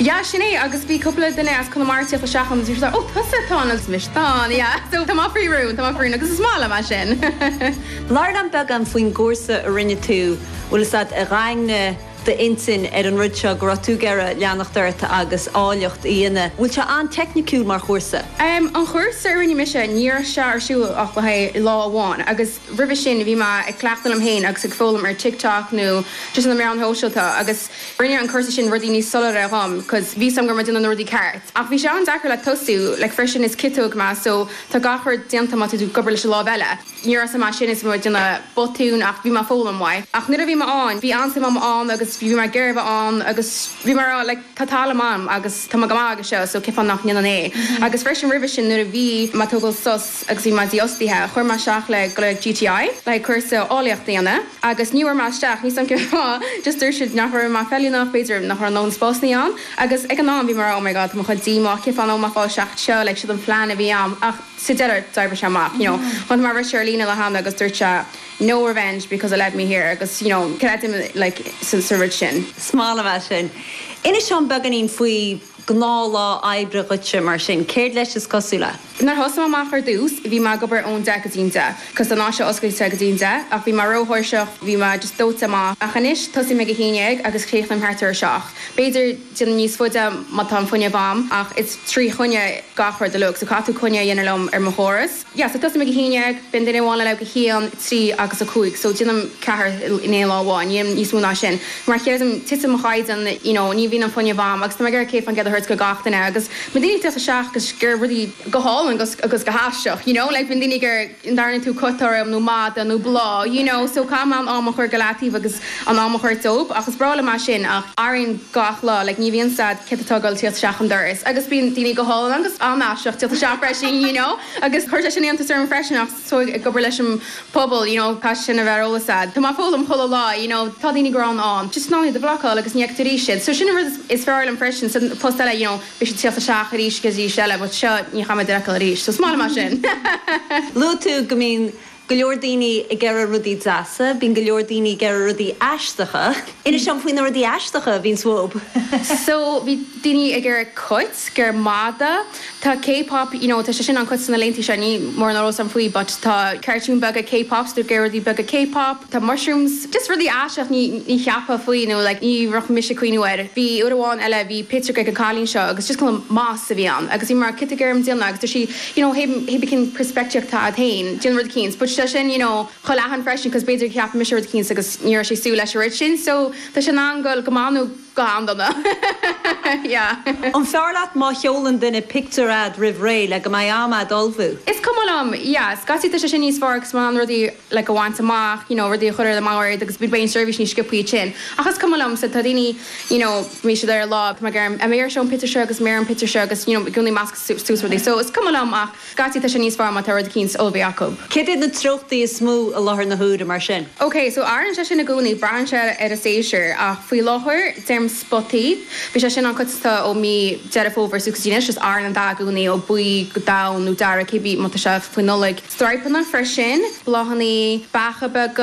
Yeah, sin é, agus bhí cúpla duine as Conamara ag tíocht isteach ann agus bhí siad like, oh tusa atá ann agus mise atá ann, yeah. So tá mé faoi rún, tá mé faoi rún agus is maith liom é sin. Labhair liom beagán faoin gcúrsa a rinne tú, bhfuil fhios a'd, a dhaingnigh d'intinn ar an rud seo go raibh tú ag iarraidh leanacht ort agus áilleacht a dhéanamh. Bhfuil sé an-teicniciúil mar chúrsa? An chúrsa a rinne mise, ní raibh sé ar siúl ach le haghaidh lá amháin agus roimhe sin bhí mé ag cleachtadh liom féin agus ag foghlaim ar TikTok nó just na meáin shóisialta agus rinne an cúrsa sin rudaí níos soiléire dhom cos bhí 's a'm go raibh mé ag déanamh na rudaí ceart. Ach bhí sé an-deacair le tosú, like freisin is ciotóg mé so tá gach rud déanta má tá tú ag obair leis an lámh eile. Ní raibh 's a'm sin is mé ag déanamh botún ach bhí mé ag foghlaim uaidh. Ach nuair a bhí mé ann, bhí an-suim a'm ann agus bhí mé ag iarraidh a bheith ann agus bhí mé ag rá like tá tallann a'm agus tá mé go maith aige seo so cén fáth nach ndéanfainn é. Agus freisin roimhe sin nuair a bhí mé ag tógáil sos agus bhí mé dífhostaithe, chuir mé isteach le go le GTI le haghaidh cúrsa áilleachta a dhéanamh agus ní bhfuair mé isteach, níl 's a'm cén fáth, just dúirt siad nach raibh mé feiliúnach, b'fhéidir nach raibh a ndóthain spásanna ann agus ag an am bhí mé ag rá oh my god tá mé chomh díomách, cén fáth nach bhfuil mé ag fáil isteach anseo, like siod an plean a bhí a'm ach sa deireadh d'oibrigh sé amach, you know. Chonaic mé rud ar líne le hAnna agus dúirt sé no revenge because it led me here agus you know creidim like sa sa rud sin. Is maith liom é sin. Inis dom beagáinín faoi ghnáthlá oibre dhuitse mar sin, céard leis is cosúil é? Nuair a thosaigh mé amach ar dtús bhí mé ag obair ón 10 go dtí'n 10 cos tá an áit seo oscailte go dtí'n 10 ach bhí mé róthuirseach, bhí mé just dóite amach. Ach anois tosaím ag 11 agus críochnaím thart ar a 7. B'fhéidir déanamh níos faide má tá an fuinneamh a'm ach is trí choinne gach rud uilig so caithfidh tú coinne a dhéanamh liom ar mo chóras. Yeah so tosaím ag 11, bíonn duine amháin eile ag 1, 3 agus 5 so déanaim ceathair in aon lá amháin, ní dhéanaim níos mó ná sin mar chreidim titeann mo chaighdeán you know ní bhíonn an fuinneamh a'm agus tá mé ag iarraidh 100% a thabhairt go gach duine agus bíonn daoine ag tíocht isteach agus ag iarraidh rudaí go hálainn agus agus go haisteach you know like bíonn daoine ag iarraidh an ndearna tú cut orm nó mada nó bláth you know so caithfidh mé an am a chur go leataobh agus an am a chur dóibh ach is breá liom é sin ach athraíonn gach lá like ní bhíonn 's a'd céard atá ag dul tíocht isteach an doras agus bíonn daoine go hálainn agus an-aisteach tíocht isteach freisin you know agus chuir sé sin iontas orm freisin ach so ag obair leis an pobal you know caithfidh sin a bheith ar eolas a'd tá mé ag foghlaim chuile lá you know tá daoine gránna ann just in ann iad a bhlocáil agus ní fheicfidh tú arís iad so sin an rud is fearr liom freisin sa post eile you know beidh siad tíocht isteach arís agus arís eile but seo ní chaithfidh mé iad a fheiceáil arís so is maith liom é sin. Luaigh tú go mbíonn go leor daoine ag iarraidh rudaí deasa, bíonn go leor daoine ag iarraidh rudaí aisteacha. Inis dom faoi na rudaí aisteacha a bhíonns uathub. So bhí daoine ag iarraidh cut, ag iarraidh mada, tá K-pop, you know tá sé sin an-choitianta na laethanta seo, níl mórán eolas agam faoi but tá cartoon beaga K-pop so ag iarraidh rudaí beaga K-pop, tá mushrooms, just rudaí aisteach ní ní cheapfá faoi nó like ní raibh mise ag cuimhniú air. Bhí uair amháin eile bhí pictiúr ag an cailín seo agus just cineál moss a bhí ann agus bhí mar cad tá tú ag iarraidh dom déanamh agus dúirt sí you know hé cén peirspictíocht atá a'd féin, déan rud eicínt but tá sin you know chomh leathan freisin cos b'fhéidir cheap mise rud eicínt agus ní raibh sé ag súil leis an rud sin so tá sé in ann goil go maith nó go han-dona yeah. An fearr leat má sheolann duine pictiúr a'd roimh ré le go mbeidh am a'd ullmhú? Is cuma liom, yeah, scaití tá sé sin níos fearr agus in ann rudaí like a bhaint amach, you know, rudaí a chur ar an mbord agus beidh an seirbhís níos sciobthaí ansin. Ach is cuma liom, so tá daoine, you know, bhí siad ar an lá, tá mé ag iarraidh, an mbeidh ar seo an pictiúr seo agus an mbeidh ar an pictiúr seo agus, you know, i gcónaí meascadh suas rudaí. So is cuma liom ach scaití tá sé níos fearr má tá rud eicínt ullmhaithe acu. Céard iad na treochtaí is mó i láthair na huaire mar sin? Ok, so athraíonn sé sin i gcónaí, braitheann sé ar an séasúr ach faoi láthair deirim spotaí, bhí sé sin an-choitianta ó mí Deireadh Fómhair suas go dtí anois, just athraíonn an dath i gcónaí ó buí go donn nó dearg cébí má tá sé faoi Nollaig. Stripeanna freisin, bláthanna, beacha beaga.